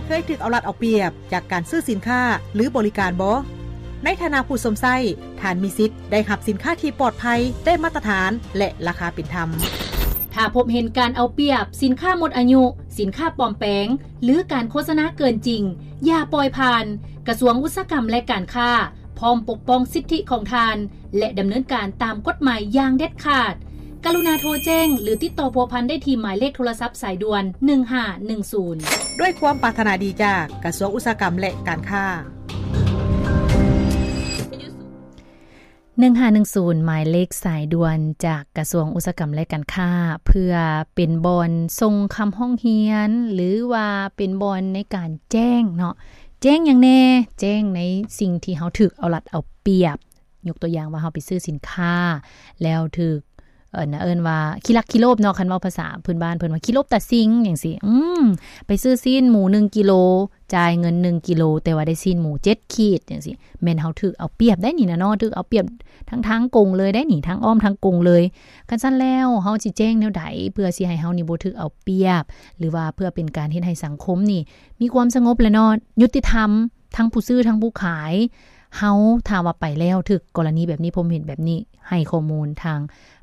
ເຄີຍຖືກເອົາລັດເອົາປຽບຈາກການຊື້ສິນຄ້າ ຫຼື ບໍລິການບໍ່? ໃນຖານະຜູ້ຊົມໃຊ້, ທ່ານມີສິດໄດ້ຮັບສິນຄ້າທີ່ປອດໄພ, ໄດ້ມາດຕະຖານ ແລະ ລາຄາເປັນທຳ. ຖ້າພົບເຫັນການເອົາປຽບ, ສິນຄ້າໝົດອາຍຸ, ສິນຄ້າປອມແປງ ຫຼື ການໂຄສະນາເກີນຈິງ, ຢ່າປ່ອຍຜ່ານ. ກະຊວງອຸດສາຫະກຳ ແລະ ການຄ້າ ພ້ອມປົກປ້ອງສິດທິຂອງທ່ານ ແລະ ດຳເນີນການຕາມກົດໝາຍຢ່າງເດັດຂາດ. ກະລຸນາໂທແຈ້ງ ຫຼື ຕິດຕໍ່ພົວພັນໄດ້ທີ່ໝາຍເລກໂທລະສັບສາຍດ່ວນ ໜຶ່ງຫ້າໜຶ່ງສູນ. ດ້ວຍຄວາມປາດຖະໜາດີຈາກກະຊວງອຸດສາຫະກຳ ແລະ ການຄ້າ. ໜຶ່ງຫ້າໜຶ່ງສູນ ໝາຍເລກສາຍດ່ວນຈາກກະຊວງອຸດສາຫະກຳ ແລະ ການຄ້າ ເພື່ອເປັນບ່ອນສົ່ງຄຳຮ້ອງຮຽນ ຫຼືວ່າເປັນບ່ອນໃນການແຈ້ງເນາະ ແຈ້ງຫຍັງແດ່? ແຈ້ງໃນສິ່ງທີ່ເຮົາຖືກເອົາລັດເອົາປຽບ. ຍົກຕົວຢ່າງວ່າເຮົາໄປຊື້ສິນຄ້າ ແລ້ວຖືກ ເອີ້ນ ເອີ້ນວ່າຂີ້ລັກຂີ້ໂລບເນາະ ຄັນເວົ້າພາສາພື້ນບ້ານເພິ່ນວ່າຂີ້ໂລບຕາຊິງຈັ່ງຊີ້. ອືມ ໄປຊື້ຊີ້ນໝູໜຶ່ງກິໂລ ຈ່າຍເງິນໜຶ່ງກິໂລ ແຕ່ວ່າໄດ້ຊີ້ນໝູເຈັດຂີດຈັ່ງຊີ້ ແມ່ນເຮົາຖືກເອົາປຽບໄດ໋ນີ້ນະເນາະ ຖືກເອົາປຽບທັງທາງກົງເລີຍໄດ໋ນີ້ ທັງອ້ອມທັງກົງເລີຍ. ຄັນຊັ້ນແລ້ວ ເຮົາຊິແຈ້ງແນວໃດ ເພື່ອຊິໃຫ້ເຮົານີ້ບໍ່ຖືກເອົາປຽບ ຫຼືວ່າເພື່ອເປັນການເຮັດໃຫ້ສັງຄົມນີ້ມີຄວາມສະຫງົບແຫຼະເນາະ ຍຸຕິທຳ ທັງຜູ້ຊື້ທັງຜູ້ຂາຍ. ເຮົາ ຖ້າວ່າໄປແລ້ວຖືກກໍລະນີແບບນີ້ ພົບເຫັນແບບນີ້ ໃຫ້ຂໍ້ມູນທາງ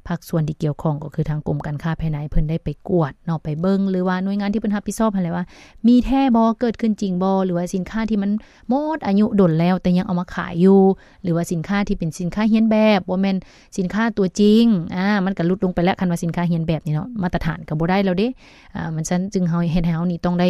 ພາກສ່ວນທີ່ກ່ຽວຂ້ອງ ກໍຄືທາງກົມການຄ້າພາຍໃນ ເພິ່ນໄດ້ໄປກວດເນາະ ໄປເບິ່ງ ຫຼືວ່າໜ່ວຍງານທີ່ເພິ່ນຮັບຜິດຊອບຫັ້ນແຫຼະວ່າ ມີແທ້ບໍ່ ເກີດຂຶ້ນຈິງບໍ່ ຫຼືວ່າສິນຄ້າທີ່ມັນໝົດອາຍຸດົນແລ້ວ ແຕ່ຍັງເອົາມາຂາຍຢູ່ ຫຼືວ່າສິນຄ້າທີ່ເປັນສິນຄ້າຮຽນແບບ ບໍ່ແມ່ນສິນຄ້າຕົວຈິງ ອາ ມັນກໍຫຼຸດລົງໄປແລ້ວ ຄັນວ່າສິນຄ້າຮຽນແບບນີ້ເນາະ ມາດຕະຖານກໍບໍ່ໄດ້ແລ້ວເດ້. ອາ ມັນຊັ້ນຈຶ່ງເຮົາ ເຮັດໃຫ້ເຮົານີ້ຕ້ອງໄດ້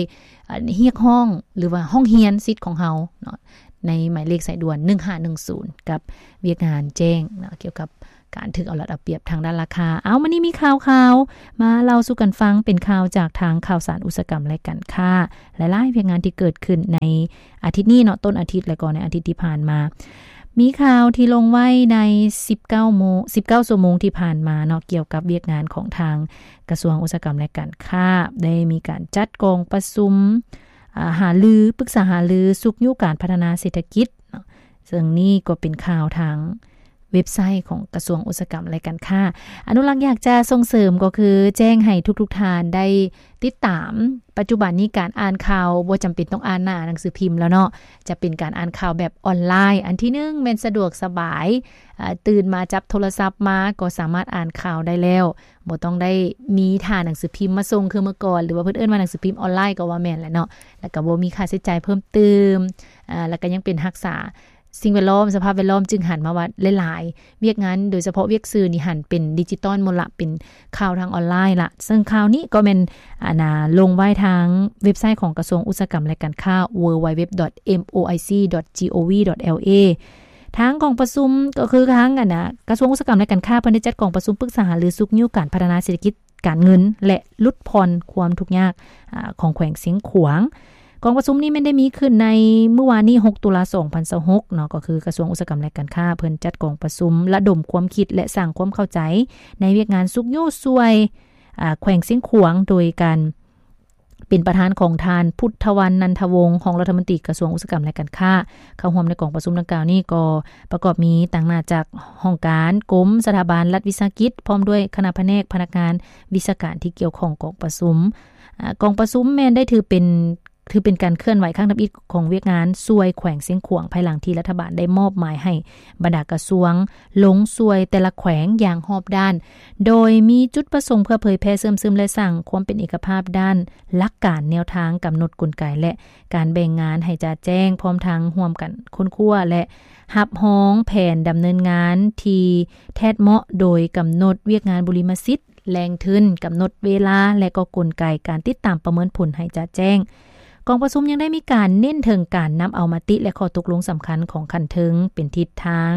ອາ ຮຽກຮ້ອງ ຫຼືວ່າຮ້ອງຮຽນສິດຂອງເຮົາເນາະ ໃນໝາຍເລກສາຍດ່ວນ ໜຶ່ງຫ້າໜຶ່ງສູນ ກັບວຽກງານແຈ້ງເນາະ ກ່ຽວກັບການຖືກເອົາລັດເອົາປຽບທາງດ້ານລາຄາ. ເອົາ ມື້ນີ້ມີຂ່າວ ຂ່າວມາເລົ່າສູ່ກັນຟັງ ເປັນຂ່າວຈາກທາງຂ່າວສານອຸດສາຫະກຳ ແລະ ການຄ້າ ຫຼາຍໆວຽກງານທີ່ເກີດຂຶ້ນໃນອາທິດນີ້ເນາະ ຕົ້ນອາທິດ ແລະ ກໍໃນອາທິດທີ່ຜ່ານມາ. ມີຂ່າວທີ່ລົງໄວ້ໃນສິບເກົ້າໂມງ ສິບເກົ້າຊົ່ວໂມງທີ່ຜ່ານມາເນາະ ກ່ຽວກັບວຽກງານຂອງທາງກະຊວງອຸດສາຫະກຳ ແລະ ການຄ້າ ໄດ້ມີການຈັດກອງປະຊຸມ ອາ ຫາລື ປຶກສາຫາລືຊຸກຍູ້ການພັດທະນາເສດຖະກິດເນາະ ເຊິ່ງນີ້ກໍເປັນຂ່າວທາງເວັບໄຊຂອງກະຊວງອຸດສາຫະກຳ ແລະ ການຄ້າ. ອະນຸລັກ ຢາກຈະສົ່ງເສີມ ກໍຄືແຈ້ງໃຫ້ທຸກໆທ່ານໄດ້ຕິດຕາມ ປັດຈຸບັນນີ້ການອ່ານຂ່າວບໍ່ຈຳເປັນຕ້ອງອ່ານໜ້າໜັງສືພິມແລ້ວເນາະ ຈະເປັນການອ່ານຂ່າວແບບອອນລາຍ. ອັນທີໜຶ່ງແມ່ນສະດວກສະບາຍ ອາ ຕື່ນມາຈັບໂທລະສັບມາກໍສາມາດອ່ານຂ່າວໄດ້ແລ້ວ ບໍ່ຕ້ອງໄດ້ມີຖ້າໜັງສືພິມມາສົ່ງຄືເມື່ອກ່ອນ ຫຼືວ່າເພິ່ນເອີ້ນວ່າໜັງສືພິມອອນລາຍກໍວ່າແມ່ນແຫຼະເນາະ ແລ້ວກໍບໍ່ມີຄ່າໃຊ້ຈ່າຍເພີ່ມຕື່ມ ອາ ແລ້ວກໍຍັງເປັນຮັກສາສິ່ງແວດລ້ອມ ສະພາບແວດລ້ອມ ຈຶ່ງຫັນມາວ່າຫຼາຍໆວຽກງານ ໂດຍສະເພາະວຽກສື່ນີ້ຫັນເປັນດິຈິຕອນໝົດລະ ເປັນຂ່າວທາງອອນລາຍລະ. ເຊິ່ງຂ່າວນີ້ກໍແມ່ນ ອາ ນາ ລົງໄວ້ທາງເວັບໄຊຂອງກະຊວງອຸດສາຫະກຳ ແລະ ການຄ້າ www.moic.gov.la ທາງກອງປະຊຸມ ກໍຄືທາງ ອັນນະ ກະຊວງອຸດສາຫະກຳ ແລະ ການຄ້າ ເພິ່ນໄດ້ຈັດກອງປະຊຸມປຶກສາຫາລືຊຸກຍູ້ການພັດທະນາເສດຖະກິດການເງິນ ແລະ ຫຼຸດຜ່ອນຄວາມທຸກຍາກ ອາ ຂອງແຂວງຊຽງຂວາງ. ກອງປະຊຸມນີ້ແມ່ນໄດ້ມີຂຶ້ນໃນມື້ວານນີ້ ຫົກ ຕຸລາ ສອງພັນຊາວຫົກເນາະ ກໍຄືກະຊວງອຸດສາຫະກຳ ແລະ ການຄ້າ ເພິ່ນຈັດກອງປະຊຸມລະດົມຄວາມຄິດ ແລະ ສ້າງຄວາມເຂົ້າໃຈໃນວຽກງານຊຸກຍູ້ຊ່ວຍ ອາ ແຂວງຊຽງຂວາງ ໂດຍການ ເປັນປະທານຂອງທ່ານ ພຸດທະວັນ ນັນທະວົງ ຮອງລັດຖະມົນຕີກະຊວງອຸດສາຫະກຳ ແລະ ການຄ້າ. ເຂົ້າຮ່ວມໃນກອງປະຊຸມດັ່ງກ່າວນີ້ກໍປະກອບມີຕາງໜ້າຈາກຫ້ອງການ, ກົມ, ສະຖາບັນ, ລັດວິສາຫະກິດ ພ້ອມດ້ວຍຄະນະພະແນກ, ພະນັກງານ, ວິຊາການທີ່ກ່ຽວຂ້ອງກອງປະຊຸມ. ອາ, ກອງປະຊຸມແມ່ນໄດ້ຖືເປັນ ຖືເປັນການເຄື່ອນໄຫວຄັ້ງທຳອິດຂອງວຽກງານຊ່ວຍແຂວງຊຽງຂວາງ ພາຍຫຼັງທີ່ລັດຖະບານໄດ້ມອບໝາຍໃຫ້ບັນດາກະຊວງລົງຊ່ວຍແຕ່ລະແຂວງຢ່າງຮອບດ້ານ, ໂດຍມີຈຸດປະສົງເພື່ອເຜີຍແຜ່ເຊື່ອມຊຶມ ແລະ ສ້າງຄວາມເປັນເອກະພາບດ້ານຫຼັກການແນວທາງ, ກຳນົດກົນໄກ ແລະ ການແບ່ງງານໃຫ້ຈະແຈ້ງ, ພ້ອມທັງຮ່ວມກັນຄົ້ນຄວ້າ ແລະ ຮັບຮອງແຜນດຳເນີນງານທີ່ແທດເໝາະ, ໂດຍກຳນົດວຽກງານບຸລິມະສິດ, ແຫຼ່ງທຶນ, ກຳນົດເວລາ ແລະ ກໍກົນໄກການຕິດຕາມປະເມີນຜົນໃຫ້ຈະແຈ້ງ. ກອງປະຊຸມຍັງໄດ້ມີການເນັ້ນເຖິງການນຳເອົາມະຕິ ແລະ ຂໍ້ຕົກລົງສຳຄັນຂອງຂັ້ນເທິງເປັນທິດທາງ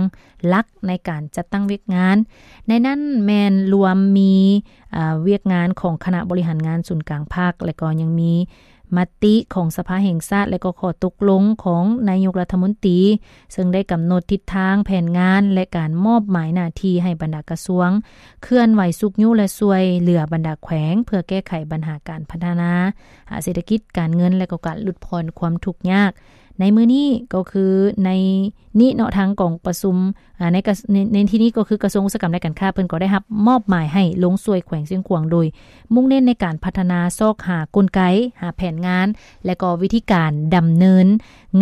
ຫຼັກໃນການຈັດຕັ້ງວຽກງານ. ໃນນັ້ນແມ່ນລວມມີ, ອາ, ວຽກງານຂອງຄະນະບໍລິຫານງານສູນກາງພັກ ແລະ ກໍຍັງມີມະຕິຂອງສະພາແຫ່ງຊາດ ແລະ ກໍຂໍ້ຕົກລົງຂອງນາຍົກລັດຖະມົນຕີ, ເຊິ່ງໄດ້ກຳນົດທິດທາງແຜນງານ ແລະ ການມອບໝາຍໜ້າທີ່ໃຫ້ບັນດາກະຊວງ ເຄື່ອນໄຫວຊຸກຍູ້ ແລະ ຊ່ວຍເຫຼືອບັນດາແຂວງ ເພື່ອແກ້ໄຂບັນຫາການພັດທະນາເສດຖະກິດ, ການເງິນ ແລະ ກໍການຫຼຸດຜ່ອນຄວາມທຸກຍາກ. ໃນມື້ນີ້ກໍຄືໃນນີ້ເນາະ ທາງກອງປະຊຸມ ອາ ໃນກະ ໃນ ໃນທີ່ນີ້ກໍຄືກະຊວງອຸດສາຫະກຳ ແລະ ການຄ້າ ເພິ່ນກໍໄດ້ຮັບມອບໝາຍໃຫ້ລົງຊ່ວຍແຂວງຊຽງຂວາງ ໂດຍມຸ່ງເນັ້ນໃນການພັດທະນາຊອກຫາກົນໄກ, ຫາແຜນງານ ແລະ ກໍວິທີການດຳເນີນ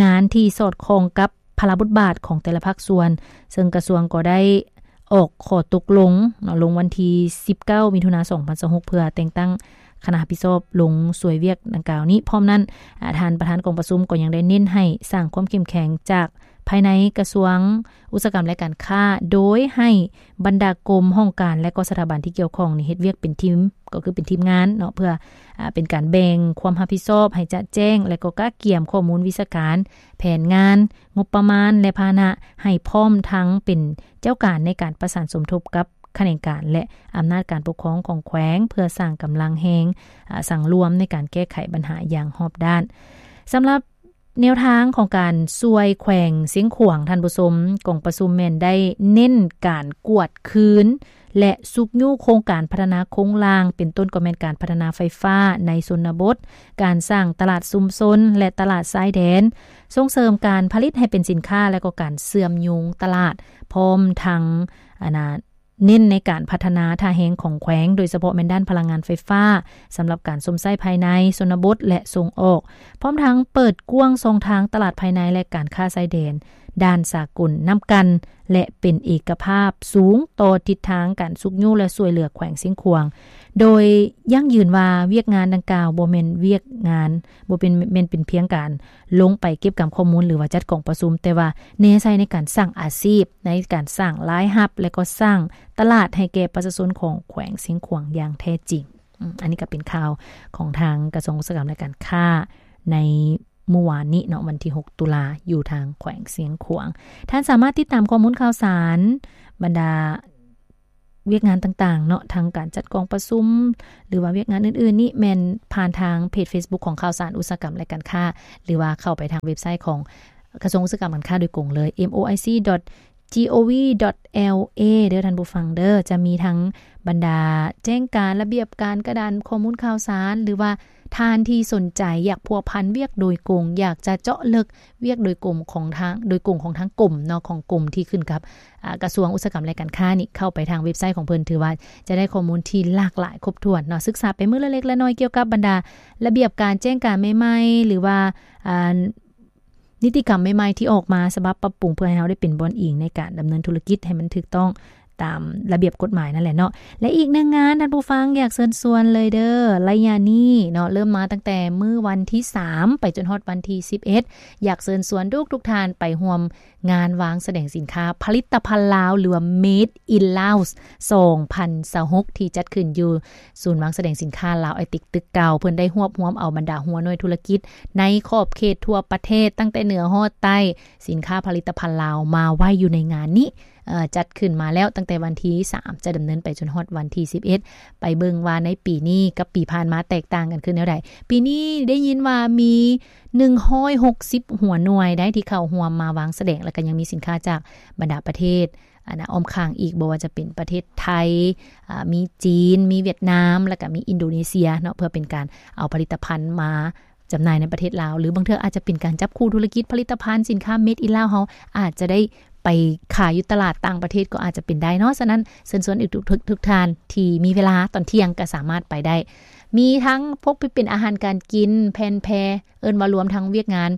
ງານທີ່ສອດຄ່ອງກັບພາລະບົດບາດຂອງແຕ່ລະພາກສ່ວນ, ເຊິ່ງກະຊວງກໍໄດ້ ອອກຂໍ້ຕົກລົງເນາະ ລົງວັນທີສິບເກົ້າ ມິຖຸນາ ສອງພັນຊາວຫົກ ເພື່ອແຕ່ງຕັ້ງຄະນະຮັບຜິດຊອບລົງຊ່ວຍວຽກດັ່ງກ່າວນີ້. ພ້ອມນັ້ນ ອາ ທ່ານປະທານກອງປະຊຸມກໍຍັງໄດ້ເນັ້ນໃຫ້ສ້າງຄວາມເຂັ້ມແຂງຈາກພາຍໃນກະຊວງອຸດສາຫະກຳ ແລະ ການຄ້າ ໂດຍໃຫ້ບັນດາກົມ, ຫ້ອງການ ແລະ ກໍສະຖາບັນທີ່ກ່ຽວຂ້ອງນີ້ເຮັດວຽກເປັນທີມ ກໍຄືເປັນທີມງານເນາະ ເພື່ອ ອາ ເປັນການແບ່ງຄວາມຮັບຜິດຊອບໃຫ້ຈະແຈ້ງ ແລະ ກໍກະກຽມຂໍ້ມູນວິຊາການ, ແຜນງານ, ງົບປະມານ ແລະ ພາຫະນະ ໃຫ້ພ້ອມທັງເປັນເຈົ້າການໃນການປະສານສົມທົບກັບຂະແໜງການ ແລະ ອຳນາດການປົກຄອງຂອງແຂວງ ເພື່ອສ້າງກຳລັງແຮງ ອາ ສັງລວມໃນການແກ້ໄຂບັນຫາຢ່າງຮອບດ້ານ. ສຳລັບແນວທາງຂອງການຊ່ວຍແຂວງຊຽງຂວາງ ທ່ານຜູ້ຊົມ, ກອງປະຊຸມແມ່ນໄດ້ເນັ້ນການກວດຄືນ ແລະ ຊຸກຍູ້ໂຄງການພັດທະນາໂຄງລ່າງ ເປັນຕົ້ນກໍແມ່ນການພັດທະນາໄຟຟ້າໃນຊົນນະບົດ, ການສ້າງຕະຫຼາດຊຸມຊົນ ແລະ ຕະຫຼາດຊາຍແດນ, ສົ່ງເສີມການຜະລິດໃຫ້ເປັນສິນຄ້າ ແລະ ກໍການເຊື່ອມໂຍງຕະຫຼາດ, ພ້ອມທັງ ອັນນ່າ ເນັ້ນໃນການພັດທະນາທ່າແຮງຂອງແຂວງ, ໂດຍສະເພາະແມ່ນດ້ານພະລັງງານໄຟຟ້າ ສຳລັບການຊົມໃຊ້ພາຍໃນຊົນນະບົດ ແລະ ສົ່ງອອກ, ພ້ອມທັງເປີດກວ້າງຊ່ອງທາງຕະຫຼາດພາຍໃນ ແລະ ການຄ້າຊາຍແດນ ດ້ານສາກົນນຳກັນ ແລະ ເປັນເອກະພາບສູງຕໍ່ທິດທາງການຊຸກຍູ້ ແລະ ຊ່ວຍເຫຼືອແຂວງຊຽງຂວາງ, ໂດຍຢັ້ງຢືນວ່າວຽກງານດັ່ງກ່າວບໍ່ແມ່ນວຽກງານ ບໍ່ເປັນ ແມ່ນເປັນພຽງການລົງໄປເກັບກຳຂໍ້ມູນ ຫຼືວ່າຈັດກອງປະຊຸມ, ແຕ່ວ່າແນໃສ່ໃນການສ້າງອາຊີບ, ໃນການສ້າງລາຍຮັບ ແລະ ກໍສ້າງຕະຫຼາດໃຫ້ແກ່ປະຊາຊົນຂອງແຂວງຊຽງຂວາງຢ່າງແທ້ຈິງ. ອາ ອັນນີ້ກໍເປັນຂ່າວຂອງທາງກະຊວງອຸດສາຫະກຳ ແລະ ການຄ້າ ໃນມື້ວານນີ້ເນາະ ວັນທີຫົກ ຕຸລາ ຢູ່ທາງແຂວງຊຽງຂວາງ. ທ່ານສາມາດຕິດຕາມຂໍ້ມູນຂ່າວສານ ບັນດາວຽກງານຕ່າງໆເນາະ ທັງການຈັດກອງປະຊຸມ ຫຼືວ່າວຽກງານອື່ນໆນີ້ ແມ່ນຜ່ານທາງເພຈເຟສບຸກຂອງຂ່າວສານອຸດສາຫະກຳ ແລະ ການຄ້າ ຫຼືວ່າເຂົ້າໄປທາງເວັບໄຊຂອງກະຊວງອຸດສາຫະກຳ ການຄ້າ ໂດຍກົງເລີຍ M O I C dot G O V dot L A ເດີທ່ານຜູ້ຟັງເດີ. ຈະມີທັງບັນດາແຈ້ງການ, ລະບຽບການ, ກະດານຂໍ້ມູນຂ່າວສານ ຫຼືວ່າທ່ານທີ່ສົນໃຈຢາກພົວພັນວຽກໂດຍກົງ, ຢາກຈະເຈາະເລິກວຽກໂດຍກົງຂອງທາງ ໂດຍກົງຂອງທາງກົມເນາະ, ຂອງກົມທີ່ຂຶ້ນກັບ ອາ ກະຊວງອຸດສາຫະກຳ ແລະ ການຄ້ານີ້, ເຂົ້າໄປທາງເວັບໄຊຂອງເພິ່ນ ຖືວ່າຈະໄດ້ຂໍ້ມູນທີ່ຫຼາກຫຼາຍຄົບຖ້ວນເນາະ, ສຶກສາໄປມື້ລະເລັກລະນ້ອຍກ່ຽວກັບບັນດາລະບຽບການແຈ້ງການໃໝ່ໆ ຫຼືວ່າ ອາ ນິຕິກຳໃໝ່ໆທີ່ອອກມາ ສະບັບປັບປຸງ ເພື່ອໃຫ້ເຮົາໄດ້ເປັນບ່ອນອີງໃນການດຳເນີນທຸລະກິດໃຫ້ມັນຖືກຕ້ອງຕາມລະບຽບກົດໝາຍນັ້ນແຫຼະເນາະ. ແລະ ອີກໜຶ່ງງານ ທ່ານຜູ້ຟັງ ຢາກເຊີນຊວນເລີຍເດີ, ໄລຍະນີ້ເນາະ ເລີ່ມມາຕັ້ງແຕ່ມື້ວັນທີສາມ ໄປຈົນຮອດວັນທີສິບເອັດ ຢາກເຊີນຊວນທຸກໆທ່ານໄປຮ່ວມງານວາງສະແດງສິນຄ້າຜະລິດຕະພັນລາວ ຫຼືວ່າ Made in Laos ສອງພັນຊາວຫົກ ທີ່ຈັດຂຶ້ນຢູ່ ສູນວາງສະແດງສິນຄ້າລາວໄອເຕັກ ຕຶກເກົ່າ. ເພິ່ນໄດ້ຮວບຮວມເອົາບັນດາຫົວໜ່ວຍທຸລະກິດໃນຂອບເຂດທົ່ວປະເທດ ຕັ້ງແຕ່ເໜືອຮອດໃຕ້, ສິນຄ້າຜະລິດຕະພັນລາວມາໄວ້ຢູ່ໃນງານນີ້. ເອີ ຈັດຂຶ້ນມາແລ້ວຕັ້ງແຕ່ວັນທີສາມ ຈະດຳເນີນໄປຈົນຮອດວັນທີສິບເອັດ. ໄປເບິ່ງວ່າໃນປີນີ້ກັບປີຜ່ານມາແຕກຕ່າງກັນຄືແນວໃດ. ປີນີ້ໄດ້ຍິນວ່າມີໜຶ່ງຮ້ອຍຫົກສິບຫົວໜ່ວຍໃດ໋ທີ່ເຂົ້າຮ່ວມມາວາງສະແດງ, ແລ້ວກໍຍັງມີສິນຄ້າຈາກບັນດາປະເທດ ອັນນ່າ ອ້ອມຂ້າງອີກ, ບໍ່ວ່າຈະເປັນປະເທດໄທ, ອາ ມີຈີນ, ມີຫວຽດນາມ, ແລ້ວກໍມີອິນໂດເນເຊຍເນາະ, ເພື່ອເປັນການເອົາຜະລິດຕະພັນມາຈຳໜ່າຍໃນປະເທດລາວ, ຫຼື ບາງເທື່ອອາດຈະເປັນການຈັບຄູ່ທຸລະກິດຜະລິດຕະພັນສິນຄ້າ Made in Laos ເຮົາອາດຈະໄດ້ໄປຂາຍຢູ່ຕະຫຼາດຕ່າງປະເທດກໍອາດຈະເປັນໄດ້ເນາະ. ສະນັ້ນ ເຊີນຊວນອີກທຸກ ທຸກ ທຸກທ່ານທີ່ມີເວລາຕອນທ່ຽງກໍສາມາດໄປໄດ້. ມີທັງພວກທີ່ເປັນອາຫານການກິນ, ແຜ່ນແພ, ເອີ້ນວ່າລວມທັງວຽກງານ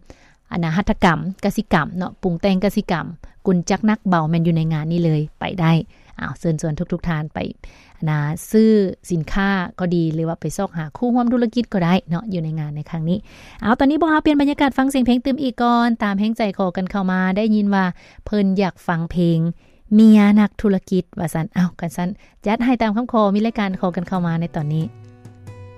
ອັນນ່າ ຫັດຖະກຳ ກະສິກຳເນາະ, ປຸງແຕ່ງກະສິກຳ, ກົນຈັກໜັກເບົາ ແມ່ນຢູ່ໃນງານນີ້ເລີຍ, ໄປໄດ້. ອ້າວ ເຊີນຊວນທຸກໆທ່ານໄປ ອັນນ່າ ຊື້ສິນຄ້າກໍດີ ຫຼືວ່າໄປຊອກຫາຄູ່ຮ່ວມທຸລະກິດກໍໄດ້ເນາະ ຢູ່ໃນງານໃນຄັ້ງນີ້. ເອົາ ຕອນນີ້ພວກເຮົາປ່ຽນບັນຍາກາດ ຟັງສຽງເພງຕື່ມອີກກ່ອນ, ຕາມແຮງໃຈຂໍກັນເຂົ້າມາ, ໄດ້ຍິນວ່າເພິ່ນຢາກຟັງເພງເມຍນັກທຸລະກິດວ່າຊັ້ນ. ເອົາ ຄັນຊັ້ນ ຈັດໃຫ້ຕາມຄຳຂໍ, ມີລາຍການຂໍກັນເຂົ້າມາໃນຕອນນີ້.